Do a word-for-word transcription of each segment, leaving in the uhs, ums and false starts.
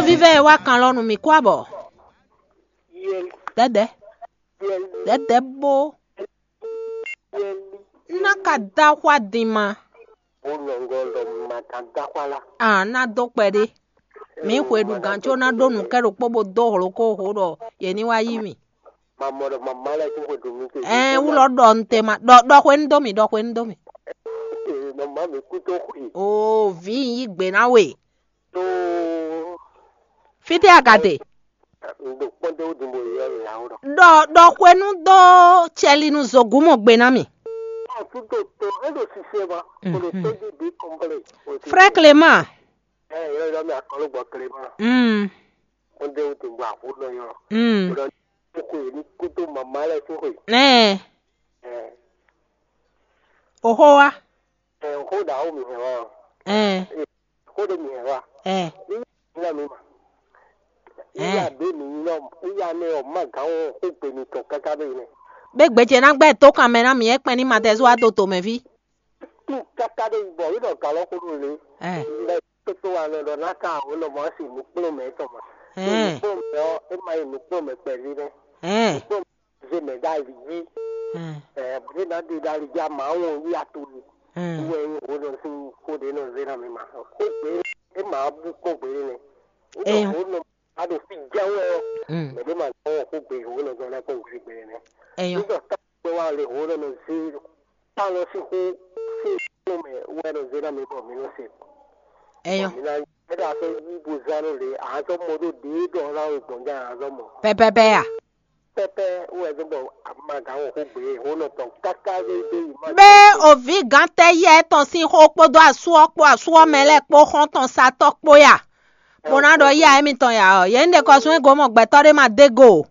Vívɛ e wá kan lɔ nú mì kú abɔ. Yɛli, Dɛdɛ, yɛli, dɛdɛ bó. Yɛli. Ná ka dá xwá din ma. Ó nɔ ŋgɔ ɖɔ ma ka dá xwá lá. A ná dó kpɛɖé. Mǐ xwe ɖu gǎn có ná ɖó nǔ kɛ ɖokpó bó dó hlokóho ɖɔ yě ní wá yí mì. Mamɔ ɖɔ mama lɛ́ɛ tún xwe ɖu mì te. Ɛɛ, wú lɔ ɖɔ un te ma ɖɔ ɖɔ xwe nu dó mì, ɖɔ xwe nu dó mì. Mama mi kú tó xwe. Oo, vǐ, un yí gbe ná we. Tó. Fítɛ́ a ka te? Un ɖo kpɔ́n dó wútu bo yɔ là ó ɖɔ. Ɖɔ ɖɔ xwe nu dó cɛlinu zogúnmɔ gbe ná mì. Ɔ tún tó tó é ɖo sise ma. Kó ɖo tó dzi bí kɔnplé. Frère Clément. Ɛ yɔ yɔ mi akɔlɔ gbɔ Clément. Mm. Kpɔ́n dó wútu bo àxó nɔ yɔ. Mm. Ɖɔ kókó yě ní kútó mama lɛ́ɛ tún xwe. Ɛ. Ɛ. Òxó wa. Ɛ xó ɖa ó mi hɛn wa. Ɛ. Xó ɖé mi hɛn wa. Ɛ. Ní na mi ma. Ɛ. Iya ɖé mi nyɔ iya nɛ ɔ ma gán ɔ xó gbe mi tɔn káká ɖé yi nɛ. Bé gbèjè ná gbɛ tó kan mɛ ná mì é kpɛn ní Matɛzu wá do tomɛví. Tún káká ɖé yi bɔ wí ɖɔ galɔ xó ɖo lé. Ɛ. Lɛ tótó wa nɔ ɖɔ ná ká àwọn nɔ mɔ sí nukplɔ́nmɛ tɔn ma. Ɛ. Nukplɔ́nmɛ ɔ é ma yi nukplɔ́nmɛ kpɛví nɛ. Ɛ. Nukplɔ́nmɛ zé mɛ ɖ'ali jí. Ɛ. Ɛ bó ná ɖe ɖ'ali jí ama wɔn yí ato ni. Ɛ. Wɛ nyí wo nɔ sín xó ɖé nɔ zé ná mi ma. Xó gbé é ma bú kpɔ́n gbé nɛ. Wí ɖɔ Eyɔn. Wo nɔ a ɖo fí jɛ́n wɛ ɔ́. Mm. Mɛ ɖé ma nɔ wɔn xó gbé wo nɔ zɔn lɛ́ kpɔ́n gbé gbé nɛ. Eyɔn. Wí ɖɔ tá gbé wa le wo nɔ nɔ zé tá lɔ sín xó sín xó mɛ wɛ nɔ zé ná mi bɔ mi nɔ se. Eyɔn. Mi ná ɛ ɖo afɔ yí bo zán nɔ le azɔ mɔ ɖo ɖě ɖɔ ná wo gbɔn ján azɔ mɔ. Pɛpɛpɛ ya. Pɛpɛ wɛ zɔn bɔ a ma gán wɔ xó gbé wo nɔ tɔn káká ɖé ɖé yi ma. Bé òvǐ gǎntɛ́ yɛ tɔn sín xó kpódó asú ɔ́ kpó asú ɔ́ mɛ lɛ́ɛ kpó xɔ́ntɔn satɔ́ kpó ya. Bó ná ɖɔ yá émítɔn ya ɔ́, yě ní ɖe kɔ sún é gomɔ gbɛtɔ́ ɖé ma dó go.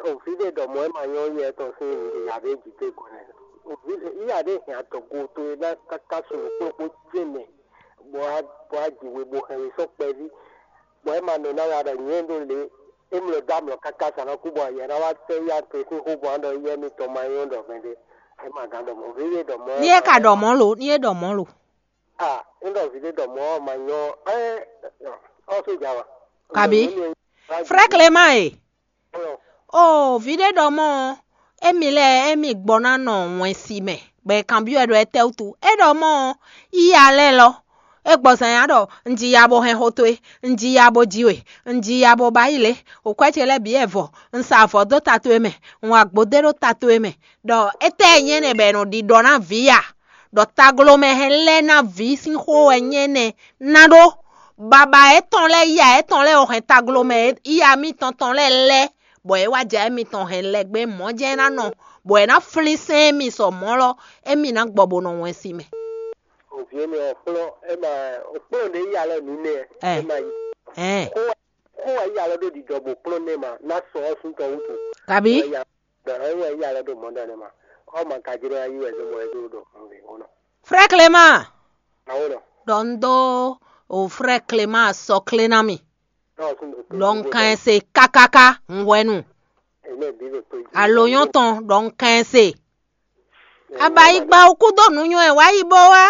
Òfin ɖé ɖɔ mɔ̌ é ma nyɔ́ yɛ tɔn sín ìyá ɖé jǐ dó go nɛ. Òfin ìyá ɖé hɛn adɔgo towe ná káká sunu kplɔ́kpó jɛ́nɛ bó wá bó wá jǐ we bó hɛn we sɔ́ kpɛví. Bɔ é ma nɔ ná ya ɖɔ nyɛ ɖo lě é mlɔ dó amlɔ káká sa ná kú bɔ yɛ ná wá tɛ ya to sín xó bɔ ná ɖɔ yɛ mi tɔn ma nyɔ́ ɖɔ mɛ ɖé. É ma gán ɖɔ mɔ̌. Òfin ɖé ɖɔ mɔ̌ é Ní é ma ka nyɔ́. Ɖɔ mɔ̌ lo, ní é ɖɔ mɔ̌ lo. Ah, ŋɖɔ vǐ ɖé ɖɔ mɔ̌ ɔ́ ma nyɔ́ ɛ ɔ sójà wa. Kabi. Frère Clément e. Oo, vǐ ɖé ɖɔ mɔ̌ ɔ́, émí lɛ́ɛ émí gbɔ ná nɔ wɛnsi mɛ, bɔ è kanbyɔ́ ɛ ɖɔ étɛ́wútu. É ɖɔ mɔ̌ ɔ́, yíya lɛ́ɛ lɔ, é gbɔ zǎn nyá ɖɔ un ji ya bo hɛn xó towe, un ji ya bo ji we, un ji ya bo ba yí lě, wǒkwɛ́ ce lɛ́ɛ bǐ wɛ vɔ, un sa avɔ dó ta towe mɛ, un wa gbodé ɖó ta towe mɛ, ɖɔ étɛ́ e nyí énɛ́ bɔ è nɔ ɖiɖɔ ná vǐ a? Ɖɔ taglomɛ hɛn lɛ́ɛ ná vǐ sín xó wɛ nyí énɛ́ ná ɖó. Baba étɔn lɛ́ɛ, yíya étɔn lɛ́ɛ, o hɛn taglomɛ yíya mitɔn tɔn lɛ́ɛ lɛ́, bɔ é wá jɛ émitɔn hɛn lɛgbɛ mɔ̌ jɛ́n é ná nɔ, bɔ é ná flín sɛ́n émi sɔ mɔ̌ lɔ, émi ná gbɔ bó nɔ wɛn si mɛ. Òvie mi ɔ kplɔ́n é ma kplɔ́n ɖe yíya lɛ́ɛ mǐ nɛ Ɛ. É ma yi. Ɛn. Kó wá kó wá yíya lɔ ɖó ɖiɖɔ bó kplɔ́n nɛ ma ná sɔ ɔ́ sún tɔn wútu. Kabi. Wá yíya ɖɔ é wá yíya lɔ ɖó mɔ̌ ɖɔ nɛ ma. Ɔ́ ma ka jló ayí wɛ zɔmɔ ɛ dó ɖɔ nǔ ɖé wó nɔ. Frère Clément. Awo nɔ. Ɖɔ un dó o frère Clément sɔ clé ná mi. Ɖɔ un kan ɛ se kákáká un hwɛnu. Alo nyɔ́ tɔn ɖɔ un kan ɛ se. Abayigba o kú dó nǔ nyɔ́ ɛ wá yi bó wá.